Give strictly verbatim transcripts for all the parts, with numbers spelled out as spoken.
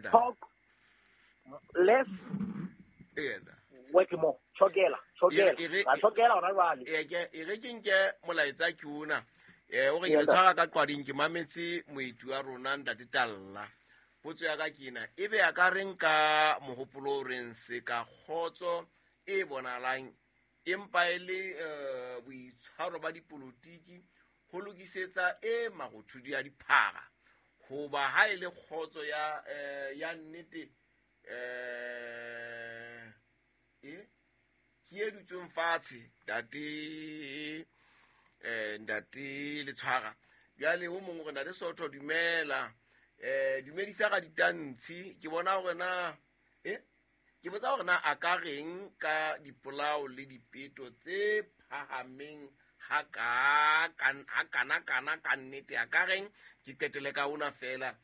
Talk less, work more. Chokela, chokela. Ra chokela hona jwale. E ke e re ke nke molaetsa ke una. Eh o re ke tshwara ka qwading ke mametse moetu wa rona Ntate Talla. Potso ya ka ke ena, ebe a ka reng ka mohopolo o reng se ka kgotso e bonalang empa e le boitshwaro ba dipolotiki ho lokisetsa e marothodi a diphara hoba ha e le kgotso ya ya nnete eh e ke e dutseng fatshe ntate eh ntate le tshwara jwale o mongwe re na le Sotho dumela eh dumedisa ga ditantshi ke bona hore na eh ke botsa hore na a ka reng ka dipolao le dipeto tse phahameng ha ka ha kana kana ka nnete a ka reng ke qetele ka ona fela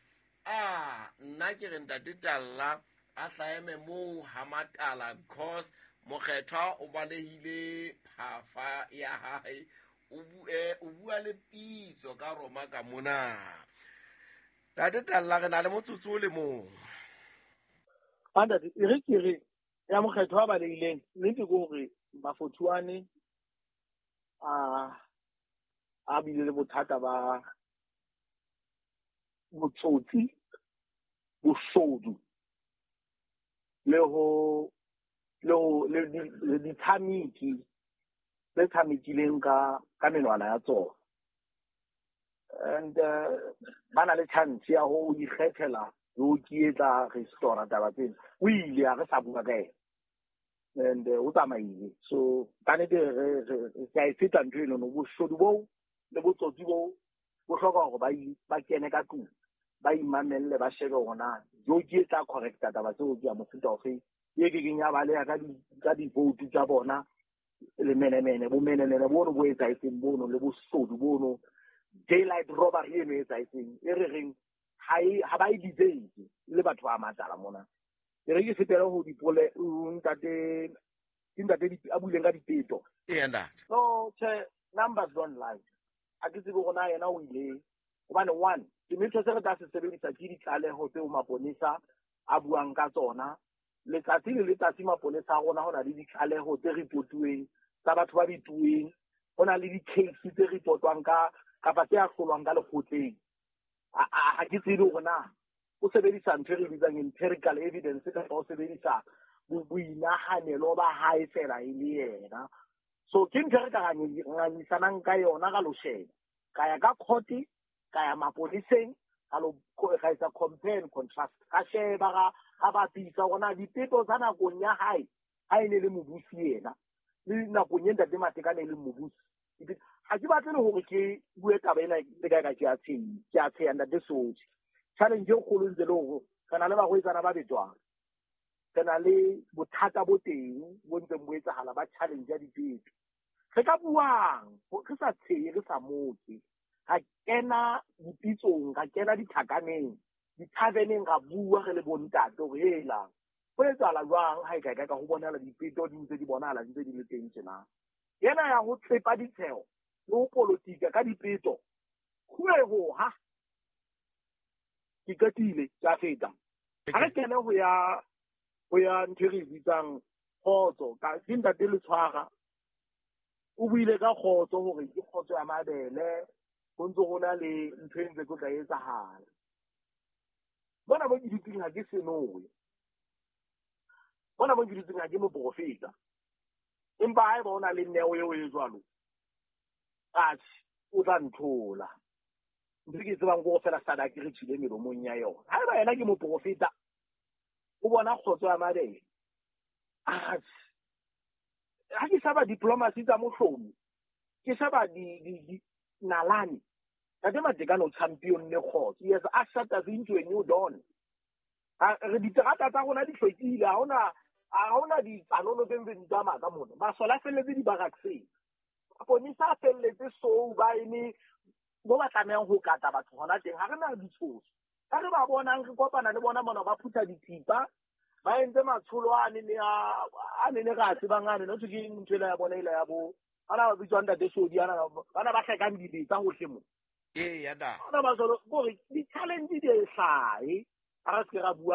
ah nna ke re Ntate Talla a hlaeme moo ha Matala because mokgethwa o balehile phafa ya hae o bue o bua le pitso ka Roma ka mona. Ntate Talla re na le motsotso le mong. Ntate e re ke re ya mokgethwa ba balehileng nnete ke hore Mafothuane a a bile le bothata ba botsotsi, boshodu le ho le ho le ditshameki tse tshamekileng ka ka menwana ya tsona. And ba na le chance ya ho ikgethela le ho kietsa restaurant taba tsena. O ile a re sa bua ka ena and o tsamaile. So ka nnete re re ka e feta ntho eno, boshodu boo le botsotsi boo bo hloka hore ba ba kene ka tlung, ba imamelle, ba shebe hore na joki e tla correcta taba tseo ke ya mofuta ofe e kekeng ya baleha ka di ka di-vote tsa bona le menemene bo menemene bono bo etsahetseng bono le bosodu bono daylight robbery eno e etsahetseng e re reng ha e ha ba e deserve le batho ba Matala mona. E re ke fetele ho dipole ntate ke ntate a buileng ka dipeto. Ee ntate. So che numbers don't lie. A ke tsebe hore na yena o ile hobane one semetho se re tla se sebedisa ke ditlaleho tseo maponesa a buang ka tsona letsatsi le letsatsi. Maponesa a rona ho na le ditlaleho tse reportuweng tsa batho ba bituweng, ho na le di-case tse reportwang ka kapa tse ahlolwang ka lekgotleng. Ha ke tsebe hore na o sebedisa ntho e re bitsang empirical evidence kapa o sebedisa boinahanelo ba hae fela e le yena. So ke ntho e re ka ngangisanang ka yona ka lo sheba ka ya ka court, ka ya maponeseng, ka lo ka etsa compare and contrast, ka sheba ga ga bapisa hore na dipeto tsa nakong ya hae ha e ne le mobusi yena le nakong e Ntate Matekane e leng mobusi. Ha ke batle le hore ke bue taba ena le kae ka ke a tsheya, ke a tsheya Ntate Soji. Challenge e kgolo ntse le hore re na le barwetsana ba betwang, re na le bothata bo teng bo ntseng bo etsahala ba challenge ya dipeto. Re ka buang re sa tshehe, re sa moke, ra kena dipitsong, ra kena dithakaneng, dithaveneng, ra bua re le bontate hore hela ho etsahala jwang ha e ka ka ho bonahala dipeto di ntse di bonahala di ntse di le teng tjena. Yena ya ho tsepa ditsheho le ho politika ka dipeto khueho ha ke qetile ke a feta. Ha re kene ho ya ho ya ntho e re bitsang kgotso ka ke Ntate le tshwara o buile ka kgotso hore ke kgotso ya mabele ho ntse ho na le ntho e ntse tlo tla etsahala. Bona bo ke dutseng ha ke senowe, bona bo ke dutseng ha ke moprofeta, empa haeba o na le neo eo e jwalo atjhe o tla nthola. Ntho ke tsebang ke hore fela sadaka re tswile melomong ya yona. Haeba yena ke moprofeta o bona kgotso ya mabele atjhe ha ke sheba diplomacy tsa mohlomi, ke sheba di di nalane. Ntate Matekane o champion ne kgotso. He has ushered us into a new dawn. Re diterata tsa rona di hlwekile, ha hona ha hona ditsanono tse ntseng di tsamaya ka mona. Masole a felletse di-barrackseng, maponesa a felletse sou ba eme mo ba tlamehang ho kata batho hona teng. Ha re na ditshoso ka re ba bonang re kopana le bona mona ba phutha dithipa ba entse matsholo a ne a ne re a tsebang ane no ke ntho ela ya bona ela ya bo bana ba bitswang Ntate Sodi ana bana ba hlekang dibetsa hohle mo. Ee ya da bana ba jalo gore di-challenge di e hlahe ha re se ke ra bua.